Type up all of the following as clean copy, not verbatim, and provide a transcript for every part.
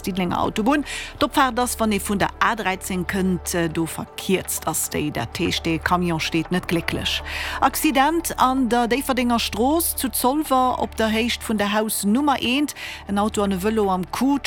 Diddelenger Autobunn. D'Opfaart ass, wann ee vun der A 13 kënnt, do verkierzt ass déi. Dat heescht, dee Camion steet net glécklech. Accident an der Déifferdenger Strooss zu Zolwer op der Héicht vun der Haus Nummer 1. En Auto an e Vëlo am Coup.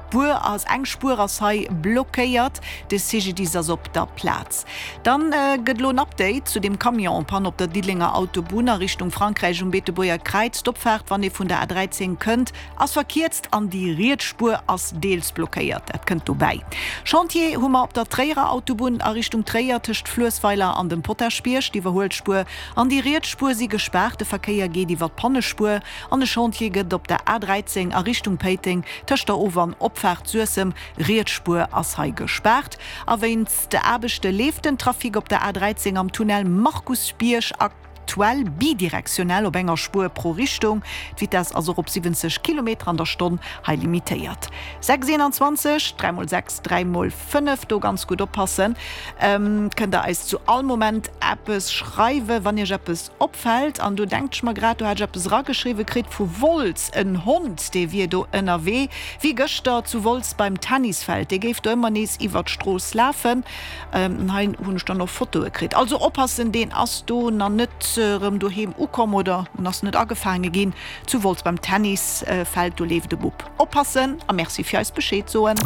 D'Spuer ass, eng Spuer ass hei blockéiert. De CGDIS ass op der Plaz. Dann gëtt elo en Update zu deem Camion en panne op der Diddelenger Autobunn a Richtung Frankräich um Beetebuerger Kräiz. D'Opfaart, wann ee vun der A13 kënnt, ass verkierzt an déi riets Spuer ass deels blockéiert. Dat kënnt dobäi. Chantier hu mer op der Tréierer Autobunn a Richtung Tréier tëscht Fluessweiler an dem Potaschbierg. D'Iwwerhuelspuer an déi riets Spuer si gespaart. De Verkéier geet iwwer d'Pannespuer. An e Chantier gëtt op der A 13 a Richtung Péiteng tëscht der Of an Opfaart Suessem. Riets Spuer ass hei gespaart. A wéinst Aarbechte leeft den Trafic op der A 13 am Tunnel Markusbierg aktuell bidirektionell op enger Spuer pro Richtung. D'Vitess ass och op 70 Kilometer an der Stonn hei limitéiert. 6,21, 3 mol 6, 3 mol 5, do ganz gutt oppassen. Kënnt der eis zu all Moment eppes schreiwen, wann iech eppes Opfällt, an do denkt ech mer grad, do hat ech eppes erageschriwwe kritt vu Wolz, en Hond, dee wier do ënnerwee, wéi gëschter zu Wolz beim Tennisfeld, dee géif do ëmmer nees iwwer d'Strooss lafen. An hei hunn ech dann och Fotoe kritt. Also oppassen, deen ass do nach net erëm doheem ukomm oder en ass net agefaange ginn zu Wolz beim Tennisfeld, do leeft e Bub. Oppassen a Merci fir eis Bescheed soen.